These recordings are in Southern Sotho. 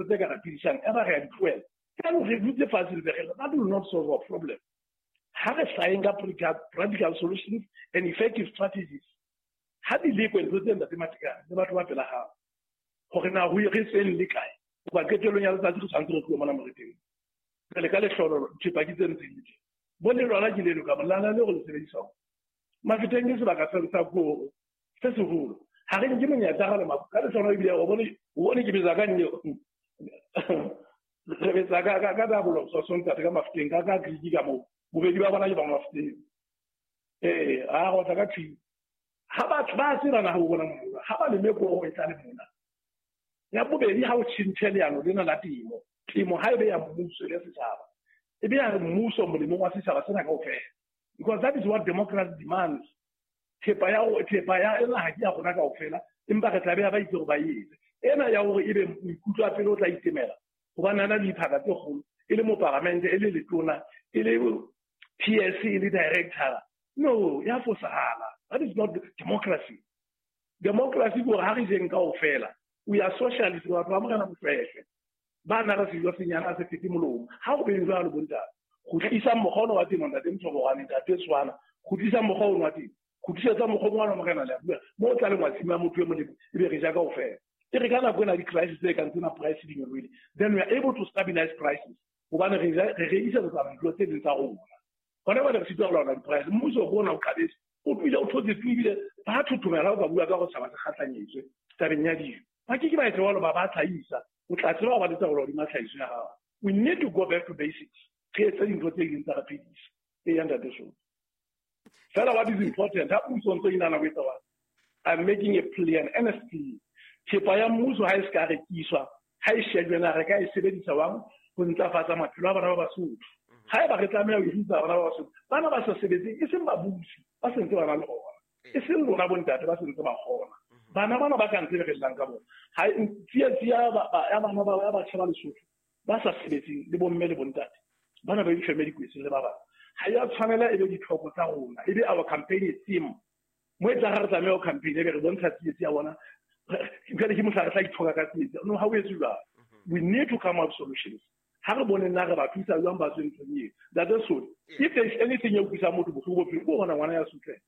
ntho tse ka re phedisang, e ba re a di tlohela. Jaanong re dutse fatshe ntse re, that will not solve our problem. Ha re hlaheng ka practical solutions and effective strategies. Ha di lekwe ntho tse, ntate Matekane, le batho ba pela hao, hore na ho re tsweng le kae, hoba qetellong ya letsatsi re tshwanetse re tlohe mona mo re teng. Re le ka lehlonolo, thepa ke tse ntseng le teng. Bo le lona ke leno ka molala le go le sebedisang. Mafeteng ke sebaka sa koro se seholo. Ha re nke monyetla ga le ka lehlonolo, ebile o bone ke betsa ka nne, re betsa ka double so ntate ka Mafeteng ka Greek ka moo. Bobedi ba bona ke ba Mafeteng. Ee, a go tla ka thwi. Ha batho ba tseba na ho bona mona, ha ba leme koro e tla le mona. Ya bobedi, ha o tjhentjhe leano lena la temo, temo ha e be ya mmuso le setjhaba, e be ya mmuso molemong wa setjhaba sena kaofela, because that is what democracy demands. Thepa ya naha ke ya rona kaofela, empa re tla beha ba itse hore ba etse ena ya hore ebe moikutlo wa pele o tla itemela hobane a na le diphaka tse kgolo, e le moparamente, e le letona, e le PS, e le director. No, ya fosahala. That is not democracy. Democracy ke hore ha re jeng kaofela. We are socialist. Batho ba Morena Mofehle ba na re sejo senyana se fete molomo. Ha o beng jwalo, bontate, kgutlisa mokgwa ono wa temo. Ntate Mthobogwane, ntate Tshwana, kgutlisa mokgwa ono wa temo, kgutlisetsa mokgwa wa Morena le bua mo o tla lengwa tshimo ya motho e molemo, e be re ja kaofela. E re ka nako ena di-crisis tse kang tsena, price di nyolohile, then we are able to stabilize prices, hobane re rekisetsa dilo tse ding tsa rona. Hona jwale re sitwa ho laola di-price. Mmuso ko ona o qabetse, o tlohile o thotse tu, ebile ba thothomela. O ka bua ka go tshaba se kgahlanyetswe tabeng ya dijo, ba ke ke ba etse jwalo, ba tlhaisa. O tla tseba ho ba letsa go hodima tlhahiso ya gago. We need to go back to basics, re etse dintho tse ding tsa re phedisa. E ya, ntate so fela, what is important, ha puso ntse e nana ho etsa wa, I'm making a plea, an earnest plea. Thepa ya mmuso ha e se ka rekiswa, ha e shejwe na re ka e sebedisa wang ho ntlafatsa maphelo a bana ba Basotho. Ha eba re tlameha ho hirisa bana ba Basotho, bana ba sa sebetseng, e seng babusi ba sentse ba na le ona, e seng lona bontate ba sentse ba kgona, bana bana ba ka ntse re llang ka bona, ha tsietsi ya bana ba ya batjha ba Lesotho ba sa sebetseng, le bomme le bontate bana ba difeme dikwetseng le ba bang, ha ya tshwanela e be ditlhoko tsa rona, e be our campaign theme. Mo e tla re tlameha ho campaign, e be re bontsha tsietsi ya bona, jwale ke mohla re tla ithoka ka tsietsi. No, ha o etse jwalo. We need to come up solutions. Ha re bone nna re ba thusa jwang ba tswe nthong eo. That is so, if there is anything e utlwisang motho bohloko bophelong, ke bona ngwana ya sutleha.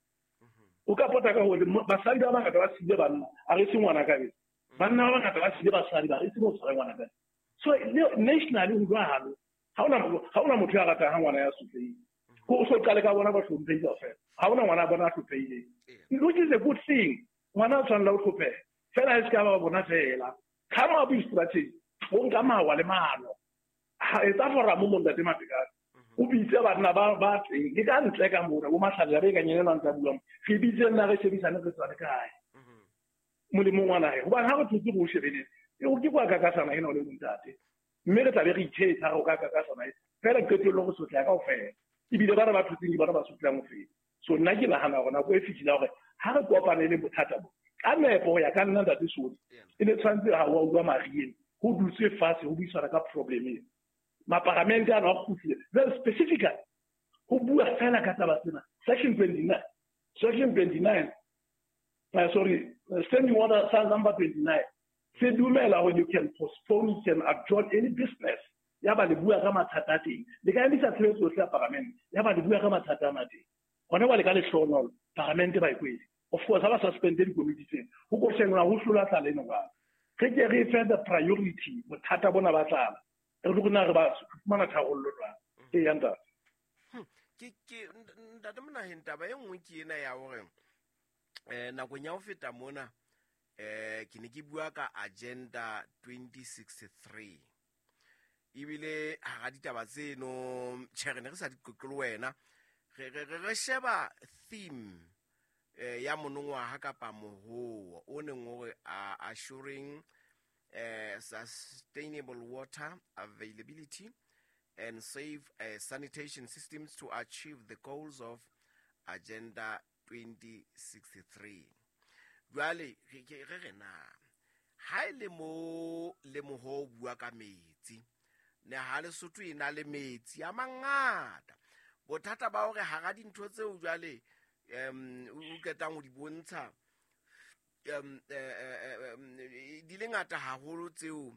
O ka pota ka hore basadi ba bangata ba siile banna, a re se ngwana ka bese. Banna ba bangata ba siile basadi, ba re se mo tshware ngwana ka. So nationally ho jwalo. Ha ona motho ya ratang ha ngwana ya sotlehile. Ko o so qale ka bona ba hlomphehile kaofela. Ha ona ngwana bona a hlophehileng, which is a good thing. Ngwana o tshwanela ho hlopheha fela, e se ka ba bona fela. Come up with strategy, o nka mawa le maano. Etsa forum mo, ntate Matekane, o bitse banna ba teng ke ka ntle ka mona, bo matlhalela ba e ka nyenelwang tsa buang. Re bitse nna re shebisane, re tswa le kae molemong wa nahe, hobane ha re thotse re o shebeletse, o ke kwa kakasana ena o le montate, mme re tlabe re ithetsa re o ka kakasana e fela. Qetellong re sotleha kaofela, ebile bana ba thotseng ke bona ba sotleang ho feta. So nna ke nahana hore nako e fihlile hore ha re kopanele bothata bo ka nepo. Ho ya ka nna, ntate Sodi, e ne tshwanetse ha wa utlwa marieng, ho dutswe fatshe, ho buisana ka problem ena. Maparamente ano a kgutlile very specifically ho bua fela ka taba tsena. Section 29, section 29, sorry, standing order number 29 se dumela hore you can postpone, you can adjourn any business. Ya ba le bua ka mathata a teng, le ka emisa tshebetso yohle ya paramente, ya ba le bua ka mathata ana teng. Hona jwale ka lehlohonolo paramente ba e kwele. Of course, ha ba suspende dikomiti tsena, ho ko shengwa ho hlola tlala eno jwang. Re ke re fe the priority bothata bona ba tlala, re tlo na re ba fumana tharollo jwang. Ee ya, ntate. Ke ntate Monaheng, taba e nngwe ke ena ya hore nakong ya ho feta mona ke ne ke bua ka Agenda 2063, ebile hara ditaba tseno, tjhe, re ne re sa di qoqe le wena, re sheba theme ya monongwaha kapa mohoo o neng o re assuring sustainable water availability and safe sanitation systems to achieve the goals of Agenda 2063. Jwale re na ha e le mo le moho o bua ka metsi, ne ha Lesotho e na le metsi a mangata. Bothata ba hore hara dintho tseo jwale o qetang ho di bontsha, di le ngata haholo tseo.